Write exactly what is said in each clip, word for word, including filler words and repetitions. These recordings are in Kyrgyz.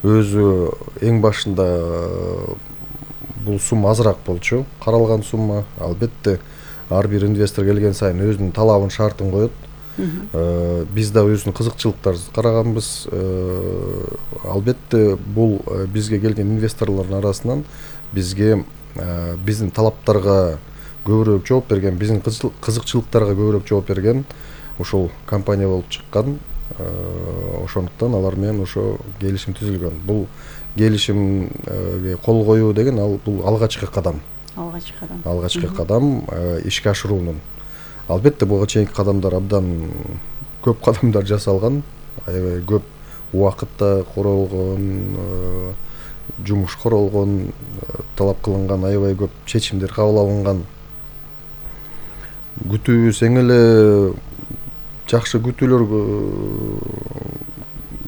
Өзү эң башында бул сумма азыраак болчу, каралган сумма. Албетте ар бир инвестор келген сайын өзүнүн талабын, шартын коет. Биз да өзүнүн кызыкчылыктарыбызды караганбыз. Албетте бул бизге келген инвесторлордун арасынан бизге биздин талаптарга көбүрөөк жооп берген, биздин кызыкчылыктарга көбүрөөк жооп берген ушул компания болуп чыккан. Ошондуктан алар менен ошо келишим түзүлгөн. Бул келишимге кол коюу деген ал бул алгачкы кадам. Алгачкы кадам. Алгачкы кадам ишке ашыруунун. Албетте буга чейинки кадамдар абдан көп кадамдар жасалган, аябай көп убакытта королгон, жумуш королгон, талап кылынган аябай көп чечимдер кабыл алынган. Күтүүбүз эң эле жакшы күтүүлөр,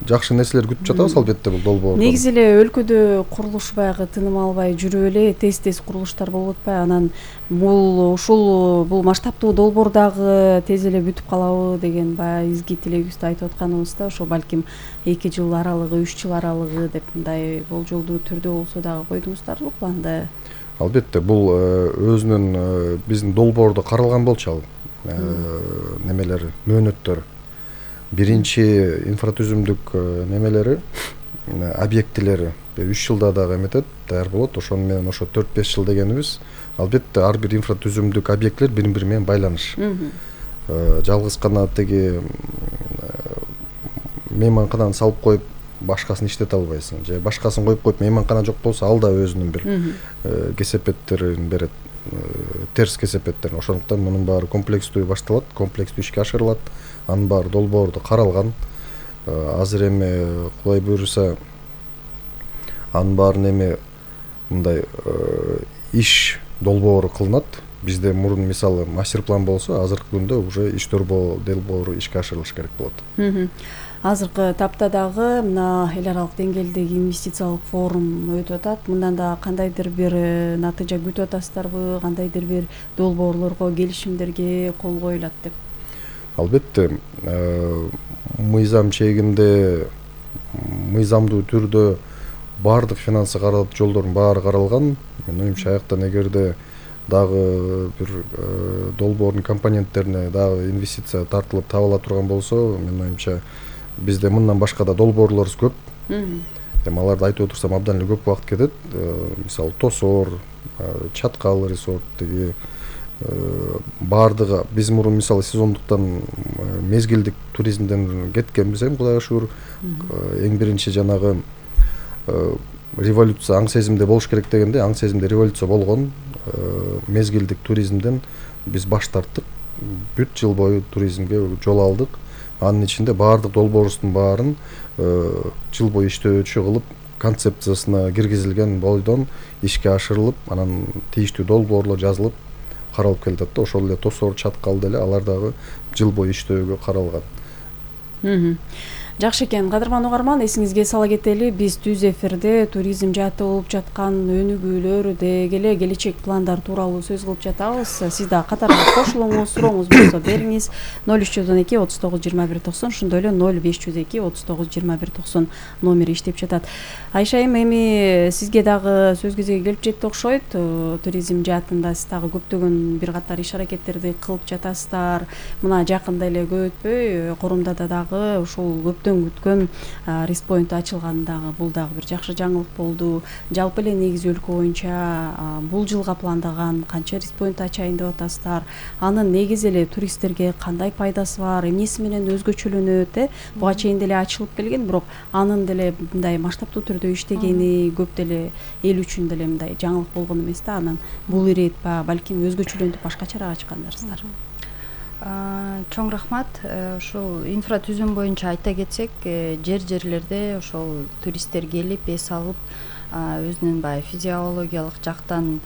жакшы нерселер күтүп жатабыз албетте бул долбоордон. Негизи эле өлкөдө курулуш баягы тыным албай жүрүп эле тез-тез курулуштар болуп атпайбы? Анан бул ушул бул масштабтуу долбоор дагы тез эле бүтүп калабы деген баягы изги тилегибизди айтып атканыбызда, ошо балким эки жыл аралыгы, үч жыл аралыгы деп мындай болжолдуу түрдө болсо дагы койдуңуздарбы планды? Албетте бул өзүнүн биздин долбоордо каралган болчу ал немелери, мөөнөттөрү. Биринчи инфратүзүмдүк немелери, объектилери үч жылда дагы эметет, даяр болот. Ошону менен ошо төрт беш жыл дегенибиз. Албетте ар бир инфратүзүмдүк объектилер бири-бири менен байланыш. Жалгыз гана теги мейманкананы салып коюп башкасын иштете албайсың. Же башкасын коюп коюп мейманкана жок болсо ал да өзүнүн бир кесепеттерин берет, терс кесепеттерин. Ошондуктан мунун баары комплекстүү башталат, комплекстүү ишке ашырылат. Анын баары долбоордо каралган. Азыр эми Кудай буйруса анын баарын эми мындай иш долбоору кылынат. Бизде мурун мисалы мастер план болсо, азыркы күндө уже иш долбоору ишке ашырылыш керек болот. Азыркы тапта дагы мына эл аралык деңгээлдеги инвестициялык форум өтүп атат. Мындан да кандайдыр бир натыйжа күтүп атасыздарбы? Кандайдыр бир долбоорлорго, келишимдерге кол коюлат деп? Албетте, мыйзам чегинде, мыйзамдуу түрдө баардык финансы каралып, жолдордун баары каралган. Менин оюмча, аяктан эгерде дагы бир долбоордун компоненттерине дагы инвестиция тартылып табыла турган болсо, менин оюмча, бизде мындан башка да долбоорлорубуз көп. Эми аларды айтып отурсам абдан эле көп убакыт кетет. Мисалы Тосор, Чаткал резорт деги баардыгы биз мурун мисалы сезондуктан мезгилдик туризмден кеткенбиз, эми Кудайга шүгүр. Эң биринчи жанагы революция аң сезимде болуш керек дегенде, аң сезимде революция болгон. Мезгилдик туризмден биз баш тарттык. Бүт жыл бою туризмге жол алдык. Анын ичинде баардык долбоорубуздун баарын жыл бою иштөөчү кылып, концепциясына киргизилген бойдон ишке ашырылып, анан тийиштүү долбоорлор жазылып каралып келатат да. Ошол эле Тосор, Чаткал деле алар дагы жыл бою иштөөгө каралган. Жакшы экен, кадырман угарман, эсиңизге сала кетели, биз түз эфирде туризм жааты болуп жаткан өнүгүүлөр деги эле келечек пландар тууралуу сөз кылып жатабыз. Сиз да катарга кошулуңуз, сурооңуз болсо бериңиз. ноль үч жүз он эки отуз тогуз жыйырма бир токсон, ошондой эле ноль беш жүз эки отуз тогуз жыйырма бир токсон номери иштеп жатат. Айшайым, эми сизге дагы сөз кезеги келип жетти окшойт. Туризм жаатында сиз дагы көптөгөн бир катар иш аракеттерди кылып жатасыздар. Мына жакында эле көп өтпөй Корумдада дагы ушул күткөн респоинт ачылгандагы бул дагы бир жакшы жаңылык болду. Жалпы эле негизи өлкө боюнча бул жылга пландаган канча респоинт ачайын деп атасыздар? Анын негизи эле туристтерге кандай пайдасы бар? Эмнеси менен өзгөчөлөнөт? Э? Буга чейин деле ачылып келген, бирок анын деле мындай масштабтуу түрдө иштегени көп деле эл үчүн деле мындай жаңылык болгон эмес да. Анан бул ирет ба, балким өзгөчөлөнтүп башкачараак ачкандарсыздар. Чоң рахмат. Ушул инфратүзүм боюнча айта кетсек, жер-жерлерде ошол туристтер келип, эс алып, өзүнүн баягы физиологиялык жактан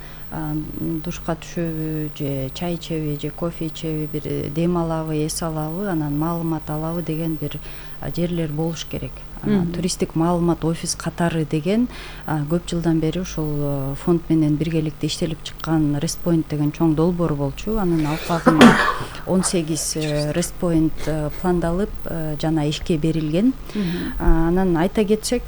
душка түшөбү, же чай ичеби, же кофе ичеби, бир дем алабы, эс алабы, анан маалымат алабы деген бир жерлер болуш керек. Туристтик маалымат офис катары деген көп жылдан бери ушул фонд менен биргеликте иштелип чыккан Респоинт деген чоң долбоор болчу. Анын алкагында он сегиз Респоинт пландалып жана ишке берилген. Анан айта кетсек,